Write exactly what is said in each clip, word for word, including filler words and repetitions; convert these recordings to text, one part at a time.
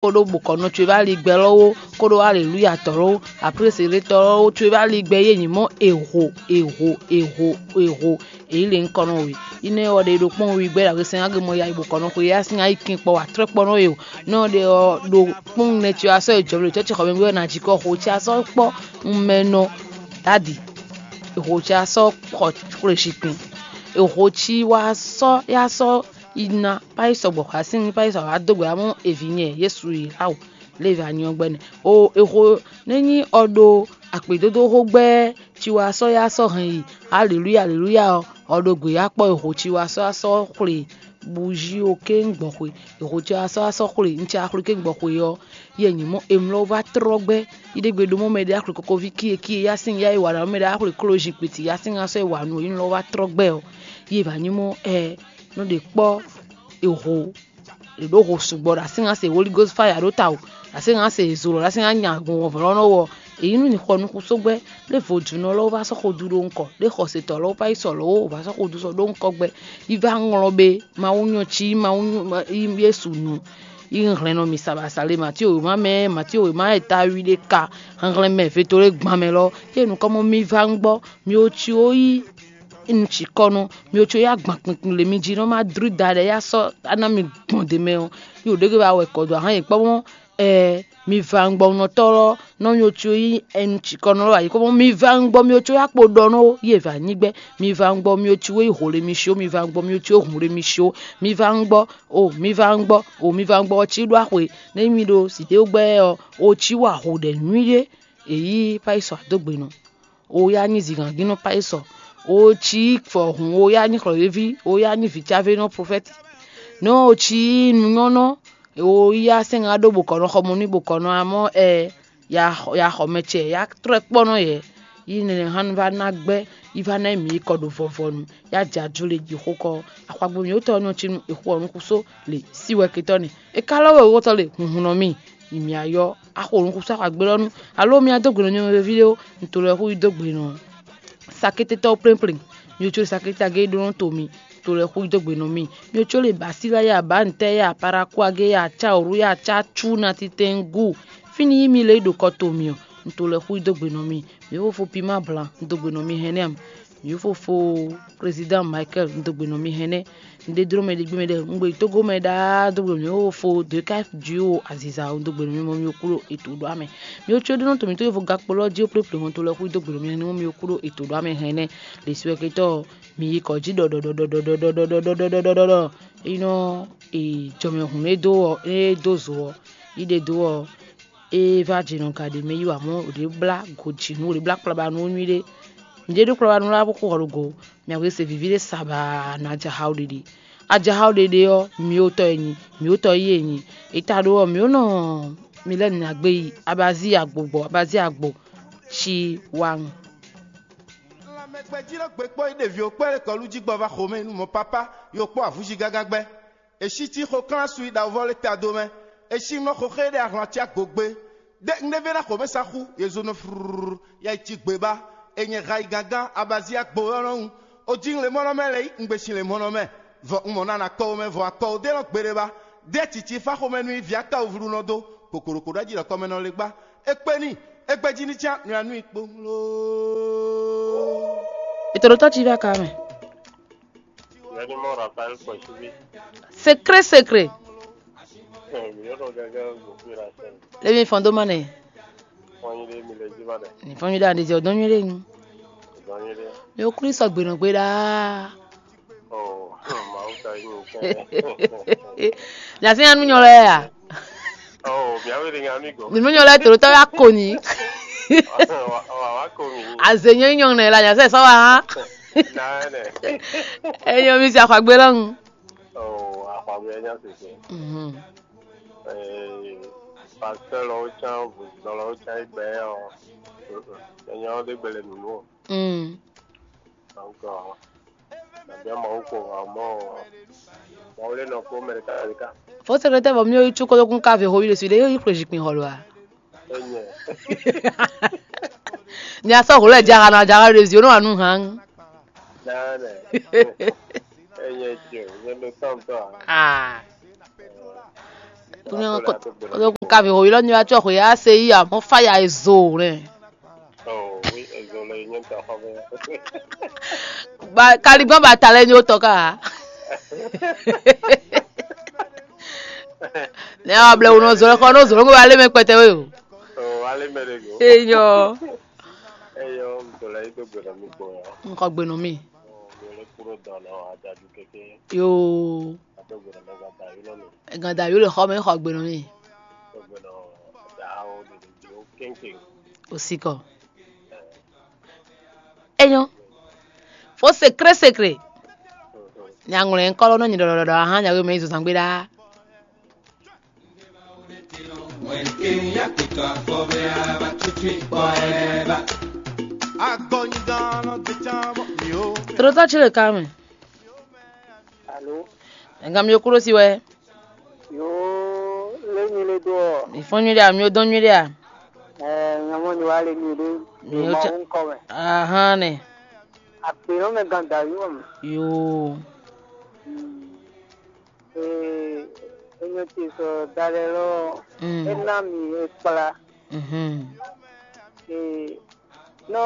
kóɖó bokɔnɔ co e va li gbɛ lɔ́wó, kóɖó aleluya tɔ lɔ́wó, aprése ɖé tɔ lɔ́wó co e va li gbɛ yé nyí mɔ eho eho eho eho èyí le nukɔn nɔ we. Ine ɔ ɖe ɖo kpɔ́n wi gbɛ ɖagbe sɛn age mɔ ya bokɔnɔ xwe ya sin ayi kin kpɔ wa trɔ kpɔ nɔ ye o. Nɔ ɖe ɔ ɖo kpɔ́n nɛ ci asɔ e jɔmɛ ɖo cɛcɛ xɔ mɛ gbɛ na jikɔ xo ci asɔ kpɔ un mɛ nɔ dadi. Eho ci asɔ xɔ kple zikpin. Eho ci wa sɔ ya sɔ ina payi sɔgbɔ xɔ asin payi sɔ wa do gbɛ amɔ evi nyɛ Yesu yi lawo. Lévi anyɔ gbɛ́nɛ. O eho nɛ́ nyí ɔ ɖo akpědódó xó gbɛ́ ci wa sɔ́ ya sɔ́ hɛn yi. Aleluya aleluya ɔ ɔ ɖo gbě ya kpɔ́ eho ci wa sɔ́ ya sɔ́ xwle bǔjí o kéŋ gbɔn xwe. Eho ci wa sɔ́ ya sɔ́ xwle un ci axwle kéŋ gbɔn xwe ɔ́, yɛ nyǐ mɔ emlɔ va trɔ́ gbɛ́. Yi ɖé gbe ɖó mɔ mɛ ɖé axwle kokoví kie kie ya sín ya yi wa ɖa mɛ ɖé axwle kló zi kpiti ya sín asɔ́ yi wa nú yi lɔ va trɔ́ gbɛ́ ɔ́, yi va nyí mɔ ɛ nɔ ɖe kpɔ́ eho. Ɖě ɖó ho sugbɔ ɖo asín ŋa se Holy Ghost fire ɖó ta o, ɖo asín ŋa se zolo ɖo asín ŋa nya gbɔn wɔ̌vlɔ́ nɔ wɔ. Èyí nú ní xɔ nukúnsogbɛ́, ɖé vodúnɔ lɔ́wọ́ vá sɔ́ xo dú ɖó ŋkɔ, ɖé xɔsetɔ lɔ́wọ́ vá yi sɔ lɔ́wọ́ vá sɔ́ xo dú sɔ ɖó ŋkɔ gbɛ. Yi vá ŋlɔ be Mawu nyɔ cí Mawu nyɔ Yesu nu. Yi hlɛn nɔ mi sabasa le Matío wěma mɛ Matío wěma eta wi ɖé ka hlɛn mɛ veto ɖé gban mɛ lɔ. Yé nukɔn mɔ mi vá ŋgbɔ mi o cí ó yí nu cikɔ nɔ mi o cí ó yá gban kpinkpin le mi jí nɔ ma dlú da ɖɛ yá sɔ ana mi gbɔn de mɛ ɔ. Yóò ɖé ke ba wɛ kɔ dó ahán yě kpɔ́ mɔ ɛ mi va ŋgbɔ nɔtɔ́ lɔ nɔ mi o cí ó yí ɛnu cikɔ nɔ lɔ ayǐ kpɔ́ mɔ mi va ŋgbɔ mi o cí ó yá kpo ɖɔ nɔ yé va nyí gbɛ. Mi va ŋgbɔ mi o cí ó yí hǒ le mi cí ó mi va ŋgbɔ mi o cí ó hǔn le mi cí ó. Mi va ŋgbɔ o mi va ŋgbɔ o mi va ŋgbɔ ɔ cí ɖó axwe nɛ mi ɖo sǐdéwúgbɛ ɔ o cí wa hǒ ɖɛ nyuíɖé. Èyí payisɔ adógbenɔ. Oya nyi zǐngangínnɔ payisɔ. O cí fɔ hǔn oya nyi xlɔ̌yéví oya nyi vǐcávénɔ profɛ́ti. Nɔ o cí nǔnyɔ́nɔ oya sɛ́n ŋa ɖó bokɔnɔ xɔmɔ ní bokɔnɔ amɔ́ ɛ ya xɔ mɛ ce ya trɔ́ ɛ kpɔ́ nɔ yɛ. Yi nɛnɛ hán va ná gbɛ́ yi va ná mǐ yi kɔ ɖo vɔvɔnu ya jɛ ajo le ji xó kɔ. Axwagbo mǐ wótɔ ɔ́ nɔ cí nú è xo ɔ́ nú xúsó le sí wɛ ketɔ́ nɛ́. È ka lɔ́ wɛ wótɔ le hunhun nɔ mì. Yi mǐ ayɔ axo nukúnsa xɔ agbélɔ́nú, alo mi adó gbe nɔ nyɔ̌nu veví ɖé ó, un to lɛ́ xú yi dó gbe nɔ sakététɔ́ plɛ́nplɛ́n. Mi ò có sakété agé ɖó nɔ to mi, un to lɛ́ xú yi dó gbe nɔ mi. Mi ò có le Basilaya, Bantɛya, Parakuagéya, Caoruya, Cacu, Natitɛngu. Fínɛ́ yí mi lě yi ɖo kɔ to mi ɔ́, un to lɛ́ xú yi dó gbe nɔ mi. Mi fofo Pima Blan, un dó gbe nɔ mi hɛn nɛ́ ǎ. Mi fofo Président Michael, un dó gbe nɔ mi hɛn nɛ́. Un ɖe dló mɛ ɖe gbé mɛ ɖe un gbe Tógó mɛ ɖaa dó gbe mɛ ó fo dwe ká ju ó aziza ó dó gbe mɛ mɔ mi kúrò ètò ɖó amɛ. Mi ó có ɖó nɔ to mi tó yófo gakpo lɔ jí ó plé plé hɔn to lɔ xú dó gbe mɛ ní mi kúrò ètò ɖó amɛ hɛn nɛ. Lě su wɛ ketɔ mi yi kɔ jí ɖɔɖɔɖɔɖɔɖɔɖɔɖɔɖɔɖɔɖɔɖɔɖɔɖɔ. Eyinɔ jɔmɛ hun e dó ɔ e dó zo ɔ yi ɖe dó ɔ e va jɛ nɔ ga ɖe mɛ yi wa mɔ o ɖe blá gojinu o ɖe blá kplaba nú nyuiɖe. Ǹjẹ́ ɖó kplaba nú lá bó xo hɔ ɖo go. Mia wé se vivi ɖé saba na jaha o ɖeɖe. Ajaha o ɖeɖe ɔ́, mi o tɔ e nyi, mi o tɔ yi e nyi. Eta ɖó ɔ́, mi o nɔ mi lɛ nyi agbe yi abazi agbo gbɔ abazi agbo ci wa ŋu. Lanmɛgbɛjí nɔ gbe kpɔ́ yi ɖeviwo kpɛ́ ɖe kɔlu jí gbɔ va xomɛ nú mɔ pápá, yo kpɔ́ avǔzi gágá gbɛ́. È sí cí xo klán su yi ɖawovɔ lé ta do mɛ. È sí nɔ xo xé ɖé ahlɔn acá gogbe. Ɖé un ɖévé ná xomɛ sa xú, yě zó nɔ frrrr, ya yi cí gbě ba. È nyɛ ha yi gangán, abazi agbo ɔ́ nɔ ŋu. O jí un le mɔ́ nɔ mɛ lɛ́ yí un gbe sin le mɔ́ nɔ mɛ. Vɔ un mɔ nana kɔ wo mɛ vɔ akɔ wo dé nɔ gbeɖé ba. Ɖé cici fá xomɛ nú yi vǐ aka wovlú nɔ dó. Kokoloko ɖɔ jí ɖɔ kɔmɛ nɔ le gbá. É kpé n'i, é gbɛ́ jí ní cán nɔ ya nú i kpowun loo. Ètò ɖo tɔ́ cí fí aka mɛ. Yɛnimɔ Raphaël Kɔsivi. Secret, secret. Ɛ, mi yɔrɔ gɛgɛ gbogbo la sɛ. Lɛmi fɔn dó ma nɛ. Fɔnyi ɖe mi le jí ma ɖe. Ni fɔnyi ɖe ande jɛ o dɔn nyuie ɖe nu. Dɔn nyuie ɖe. Mi o kuli sɔ gbenɔ gbe ɖaa. Oh, Mawu ka yi mi kɛ. Nya se nya nu nyɔ lɛ ya. Oh, mi awe de nya mi go. Ni nu nyɔ lɛ to tɔ ya ko ni. Wa wa ko mi. Aze nyɔ nyɔ nɛ la nya se sɔ wa ha. Na ne. Enyo mi si axwagbe lɔnu. Oh, axwagbe nya se se. Mhm. Eh, pasteur lɔ can, lɔ can igbe o. Enyo de gbele nunu. Mm. Donc, euh, bien Mawu ko vraiment. Mawu le nɔ ko mɛ ka ka. Fo secrétaire vɔ mi yɔ itsu kolo kun ka ve ho yi le su de yo yi kple zikpin hɔ lo a. Enye. Ni a sɔ ho lɛ jaga na jaga le zio no anu han. Na ne. Enye tio, ne no tɔn tɔn. Ah. Kúnyɛ kó kó ká fi hǒyí lɔ ní wá tsɔ hǒyí á se yí amɔ̌ fáya e zo nɛ. Oh, oui, ezo le nyɛ ta xɔ bɛ. Ba kaligbɔn ba ta lɛ nyó tɔ ká. Nɛ wa blɛ wunɔ zɔlɛ xɔ no zɔlɛ ŋgɔ wa lé mɛ kpɛtɛ we o. Oh, ale mɛ de go. Eyɔ. Eyɔ, zɔlɛ yi do gbɛ na mi gbɔ ya. N xɔ gbe nɔ mi. Oh, mi le kúrò dɔn na wa dadu keke. Yoo. A do gbɛ na mɛ gba da yi nɔ mi. Ganda yo le xɔ mɛ xɔ gbe nɔ mi. Do gbɛ na da o de de o kenken. O si kɔ. Enyo. Fo sekre sekre. Nyaŋlɔ yẹn kɔlɔ nɔ nyi ɖɔɖɔɖɔ ahan nyawe mɛ yi zozan gbe ɖaa. Trotɔ tsi le kan mɛ. Alo. Nka mi kúrò si wɛ. Yo, lé mi le dó ɔ. Mi fɔn nyuɖe a, mi dɔn nyuɖe a. Ɛ, nyɔmɔ ni wa le mi ɖe. Mi o tsa. Ahan nɛ. Akpe nɔ mɛ gan da yo mɛ. Yo. Ee, enyɔ ce sɔ dalɛ lɔ. Mm. E na mi e kpla. Mhm. Ee, nɔ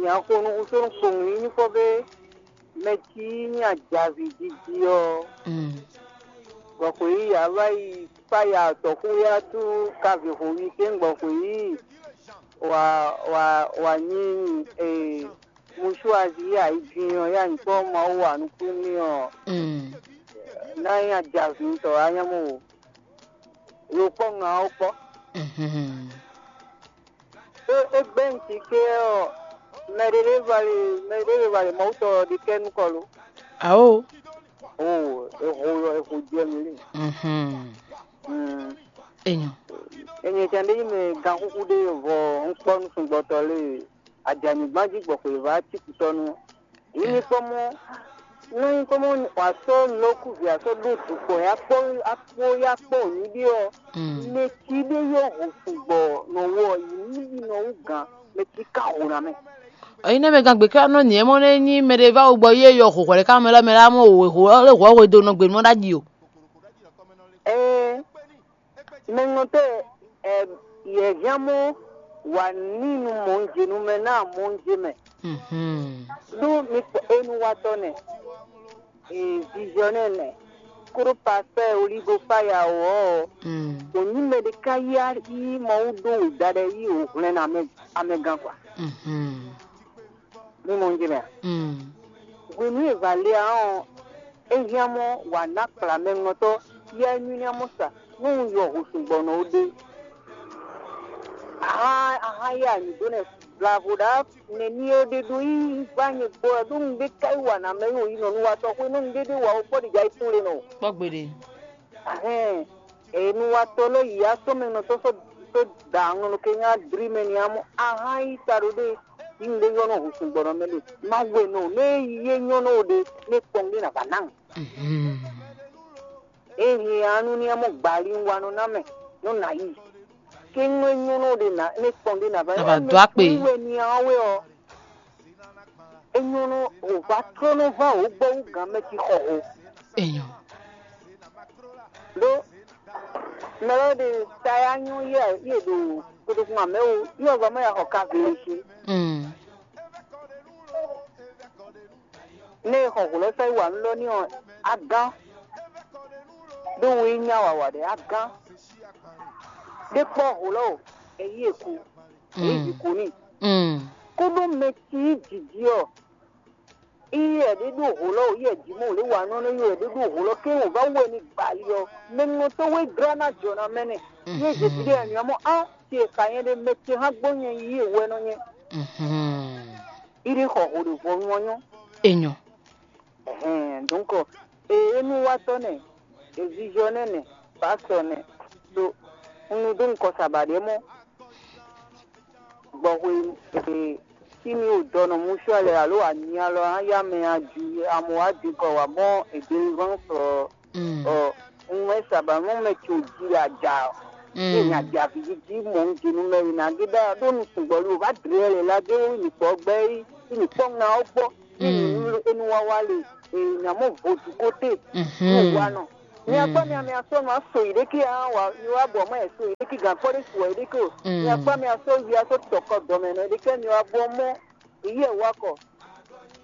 nya xo nu xusó nu kpowun yi ní kpɔ́ bé mɛ cí nyí ajavi jiji ɔ́, Mm. Bɔ xwe yí a wá yi kpá ya tɔ̌xú ya tú kavǐxoví kɛ́n gbɔ xwe yí wǎ wǎ wǎ nyí e musuazi yí ayijin ɔ́ yá nyǐkɔ Mawu wa nukún n'i ɔ́, Mm. Ná nyí ajavi tɔ wá nyɔ́ mɔ o. Lo kpɔ́ ŋa ɔ́ kpɔ́. Mhm. É é gbɛ́ nǔ ké ɔ́, mɛ ɖé ɖé va le mɛ ɖé ɖé va le Mawutɔ ɔ́ ɖe kɛ́ nú kɔ lo. Awo. Oo, eho eho jɛ mi lé. Mhm. Mm. Enyo. Enye tɛn ɖé nyí mɛ ganxúxú ɖé vɔ un kpɔ́ nú sungbɔtɔ lé ajanyigban jí gbɔ xweyǐvá cikutɔ́nu. Yě ní kpɔ́ mɔ nɔ nyí kpɔ́ mɔ wǎ sɔ́ nɔkúvǐ a sɔ́ ɖó dukpɔ ya kpɔ́ akpó ya kpɔ́ nyíɖí ɔ́, Mm. Mɛ cí ɖé yɔ ho sugbɔ nɔ wɔ yi ní yi nɔ wú gǎn, mɛ cí ka ho ná mɛ. Eyi nɛ mɛ gán gběká nɔ nyɛ mɔ nɛ nyí mɛ ɖé va wo gbɔ yé yɔ ho hwɛ̌ ká mɛ lɛ́ mɛ lɛ́ mɔ wò ho lé hwɔ̌ hwe do nɔ gbe mɔ ɖ'ájí o. Ɛɛ, mɛ ŋɔtɔ́ ɛ yɛ̌hián mɔ wǎ ní nu mɔ̌njenu mɛ ná mɔ̌nje mɛ. Mhm. Ɖó mi kpɔ enuwatɔ́ nɛ, ee, visionnaire nɛ, kúɖó pasteur Oligo Faya ɔ́, Mm. Wǒ nyí mɛ ɖé ká yá yí Mawu ɖó wěda ɖɛ yí wǒ hwlɛ́n nú amɛ amɛgán kwa. Mhm. Mi mɔ njí mɛ a? Mm. Hwenu e è va lɛ ɔ́, é hián mɔ wǎ ná kplá mɛ ŋɔtɔ́ yá nyúnyá mɔ sa nú un yɔ hǔsúgbɔ́nɔ ó ɖe. Ahan ahan yá nyǐ dó nɛ blavo ɖá nɛní ɔ́ ɖe ɖó yí vá nyɛ gbɔ wɛ ɖó un ɖé ká yi wa nǎ mɛ yi wǒ yi nɔ nú wa tɔxwé nú un ɖé ɖé wa ó kpɔ́ ɖi ja yi tún le nɔ. Kpɔ́ gbeɖé. Ahɛn, e nu wa tɔ lɔ yi ya sɔ mɛ nɔ tɔ sɔ tɔ da ŋɔ nɔ ke nya dri mɛ ni amɔ ahan yi ta ɖo ɖe yi ŋɖe nyɔ nɔ husun gbɔnɔ mɛ ɖe ma wɛ nɔ ne ye nyɔ nɔ ɖe ne kpɔn ɖe na va na. Mhm. E hin anu ni amɔ gbali wa nɔ na mɛ nɔ na yi ke ŋɔ nyɔ nɔ ɖe na ne kpɔn ɖe na va. Na va do akpe. Wɛ ni awe ɔ. Enyɔ́ nú wǒ va tló nú ván wǒ gbɔ wú gǎn mɛ ci xɔ ho. Enyɔ. Ɖó mɛ lɔ ɖe ta ya nyɔ́ yɛ yɛ ɖo koɖokun amɛ wo yɛ wá mɛ ya xɔ ka vili cí. Mm. Ne e xɔ hǔlɔ́ sɔ́ yi wa nú lɔ ní ɔ́, á gán. Ɖó wú yi nya wǎwá ɖé á gán. Ɖé kpɔ́ hǔlɔ́ o, e yí e ku. Yě yi kú n'i. Mm. Kúɖó mɛ ci yí jǐjí ɔ́, iye ɛ ɖé ɖó hǒlɔ́ o, iye jí mɔ lě wa nɔ nɔ iye ɛ ɖé ɖó hǒlɔ́ ké wò vá wɛ ni gbali ɔ́, mɛ ŋɔ tó wé glá ná jɔ ná mɛ nɛ. Yé zě ví ɖé anyɔ mɔ á ti e xa nyɛ ɖé mɛ ce hã gbɔ nyɛ yí e wɛ nɔ nyɛ. Mhm. Iɖe xɔ hǒ ɖe vɔ nyɔ nyɔ. Enyɔ. Ɛhɛn, donc, e enúwatɔ́ nɛ, e visionnaire nɛ, pasteur nɛ, ɖo un nu dó nukɔ saba ɖé mɔ. Gbɔ hwenu e tí mi o dɔ nɔ musualɛ alo anyia lɔ á yá mɛ a ju amɔ wá di kɔ wá mɔ e délivrance ɔ, Mm. Ɔ, un wɛ saba mɔ mɛ tso ji aja ɔ. Mm. Ye nya ja vijiji mɔ un jenu mɛ wina gida ɖo nu sugbɔ lo va dre lɛ la ge wo ni kpɔ gbɛ yi ni kpɔ ŋa ɔ gbɔ. Mm. Ni enu wawa le e nya mɔ vodu kote. Mhm. Ni wa nɔ. Mi akpa mi ame asɔ ma so yi ɖeke a wa mi wa bɔ ma so yi ɖeke gan kpɔ ɖe su yi ɖeke o. Mi akpa mi asɔ yi asɔ tɔkɔ dɔmɛ nɔ ɖeke mi wa bɔ mɔ yi yɛ wa kɔ.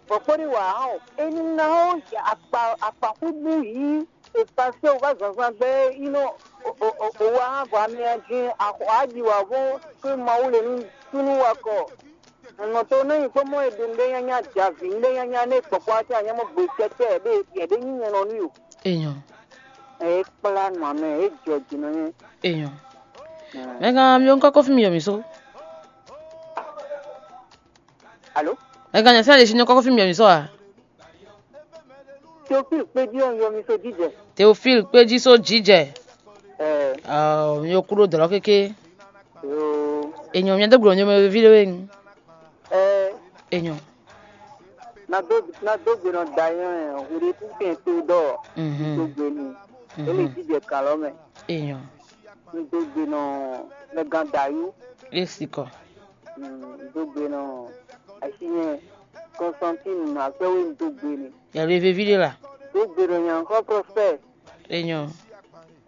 Bɔ kpɔ ɖe wa hã o. Enu na o akpa akpa kudu yi e pase o va zanzan gbɛ yi nɔ o wa hã vɔ mi a jin axɔ aji wa vɔ ke Mawu le nu tunu wa kɔ. Nɔ to ne nyi kpɔmɔ e ɖe nɖe nyanya javi nɖe nyanya ne kpɔkpɔ ati anyamɔ gbe tɛtɛ ɖe yɛ ɖe nyi nyɛ nɔ nu yo. Enyo. E kpla nɔ amɛ e jɔ dzi nɔ nyɛ. Enyo. Mɛ gã mi ŋkɔ kɔfi mi yɔ mi so. Alo. Mɛ gã nyɛ sɛ le si nyɔ kɔfi mi yɔ mi so a? Teofil kpedzi ɔn yɔ mi so jijɛ. Teofil kpedzi so jijɛ. Ɛ. Ɔ mi yɔ kúrò dɔlɔ kéké. Yoo. Enyo mi dó gblɔ nyɔ mɛ vi ɖe wɛ. Ɛ. Enyo. Na dó na dó gbe nɔ da yɛn hwɖe kúkɛn tó dɔ. Mhm. Dó gbe ni. Mhm. Ele jijɛ kalɔ mɛ. Enyo. N dó gbe nɔ mɛ gan da yú. Esi kɔ. N dó gbe nɔ asi nyɛ Constantine akpɛwé n dó gbe ni. Yàrá vevi ɖe la. Dó gbe nɔ nyankɔ Prospère. Enyo.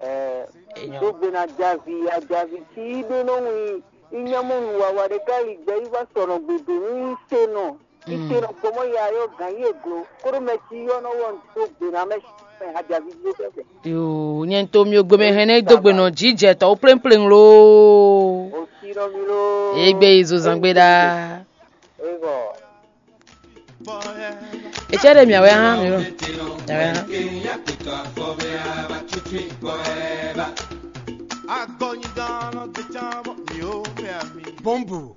Ɛ Enyo. Dó gbe nɔ ajavi ajavi tí ɖó nɔ ŋu inyamɔnu wawa ɖe ká yi gbɛ yi va sɔnɔ gbedo nú itenɔ itenɔ gbɔmɔ ya yɔ gan yi eglo kóɖó mɛ tí yɔ nɔ wɔ dó gbe nɔ amɛ mɛ ajavi ɖé sɛsɛ. Yoo, nyɛ to mi ogbe mɛ hɛn ne dó gbe nɔ jijɛ tɔwo pléŋpléŋ loo. O tí nɔ mi loo. Egbe yi zo zangbe ɖaa. Ego. Etsɛ ɖe mia wɛ hã mi ɖo. Mia wɛ hã. Bɔmbu.